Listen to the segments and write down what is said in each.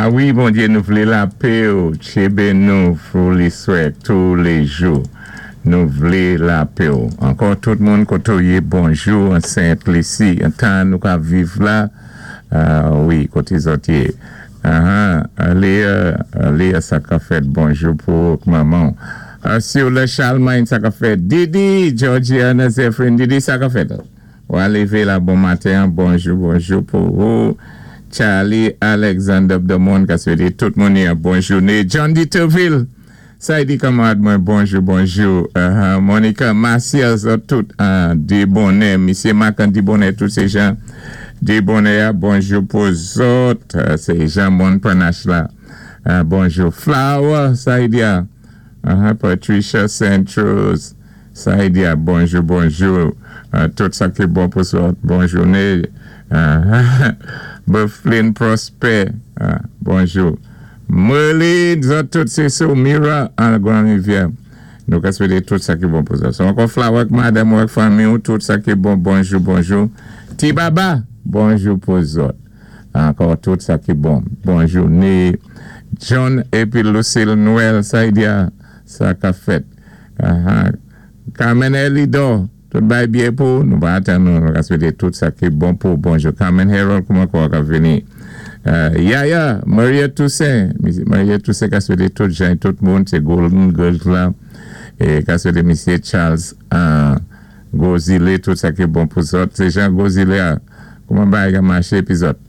A wi, Bondyé, nou vlé lapè-ou, tchébé nou fou liswè touléjou. Nou vlé lapè-ou. Ankò tout moun koté-w yé, bonjou an Sent Lisi, an tan nou ka viv la, wi, koté zòt yé. Ahan, Léa, Léa sa ka fèt, bonjou pou ou ak manman-w. Siwla Chalmany sa ka fèt, Didi, Georgiana Zephyrin, Didi sa ka fèt? Wa lévé la bon maten an, bonjou, bonjou pou ou. Charlie Alexander Bdomond ka swété tout moun yon bon jouné. John Diterville, sa di kanmarad mwen, bonjou, bonjou. Monica Maciel, zòt tout Debonè, misyé Makan Debonè, tout sé jan Debonè a, bonjou pou zòt. Sé jan moun Panache la. Bonjou. Flower, sa di a. Patricia Saint-Rose. Sa di a, bonjou, bonjou. Tout sa ki bon pou zòt. Bon jouné. Bufflin Prosper, bonjou. Merlin, zòt tout sé sou Mira an Grand Rivière. Nou ka swété tout sa ki bon pou zòt. So ankò Flower ak madanm ou ak fanmi ou, tout sa ki bon, bonjou, bonjou. Ti Baba, bonjou pou zòt. Ankò tout sa ki bon. Bon jouné. John épi Lucille Noël, sa di a, sa ka fèt. Carmen Elidor, tout bay byen pou nou pa atann nou, nou ka swété tout sa ki bon pou bonjou. Carmen Harold, kouman kò ka vini? Yaya, Maria Toussaint, Maria Toussaint ka swété tout jan tout moun, sé Golden Girls la, é ka swété misyé Charles Gozile tout sa ki bon pou zòt. Sé jan Gozile a, kouman bagay ka maché épi zòt?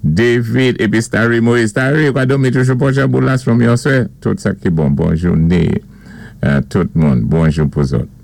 David épi Starry Moïse. Starry, ou ka dòmi toujou Pòjaboulas from yon swè. Tout sa ki bon. Bon jouné tout moun. Bonjou pou zòt.